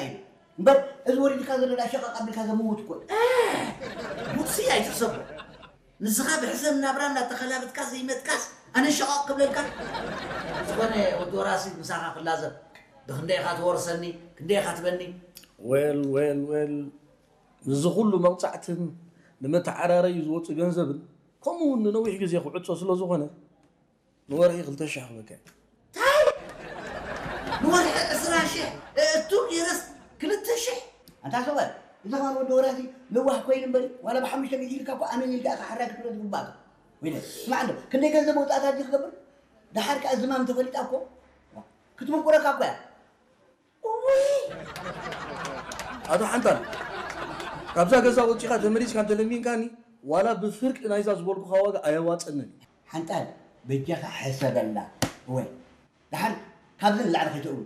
ኢሉ። እምበር እዚ ወሪድካ ዘሎ ዳ ሸቐቕ ኣቢልካ ዘምውት እኮ እዩ። ቡትሲ ኣይትሕሰቦ። ንስኻ ብሕሰም ናብራ እናተኸላብትካ ዘይመጥካስ ኣነ ሸቐቕ ክብለልካ። ዝኾነ ወዲ ወራሲ ምሳኻ ክላዘብ። ብክንደይ ኢኻ ትወርሰኒ፣ ክንደይ ኢኻ ትበኒ። ዌል ዌል ዌል፣ ንዚ ኩሉ መቕጻዕትን ንመተዓራረዩ ዝወጽእ ገንዘብን ከምኡ እውን ንነዊሕ ግዜ ክዕጾ ስለ ዝኾነ ንወርሒ ክልተ ሽሕ ክበካ። ታይ ንወርሒ ዕስራ ሽሕ እቱ ጌረስ ክልተ ሽሕ ኣንታ ሰብኣይ፣ እዚ ኸማን ወዲ ወራሲ ለዋህ ኮይኑ እምበሪ ዋላ ብሓሙሽተ ግዜ ኢልካ እኮ ኣነ ኢልካ ኢኻ ሓራይ ክትብሎ ዝግባእካ። ወይለ ስማዕ እንዶ ክንደይ ገንዘብ መውፃእታ እዚ ክገብር ደሓር ከኣ ዝማም ተፈሊጣ እኮ ክትምንቁረካ እኮ እያ። ኣቶ ሓንታል፣ ካብዛ ገዛ ወፂኻ ተመሊስካ እንተለሚንካኒ ዋላ ብፍርቂ ናይዛ ዝበልኩኻ ዋጋ ኣየዋፀንን እዩ። ሓንጣል በጃኻ ሕሰበላ። እወ ደሓር ካብዚ ንላዕሊ ከይተእው።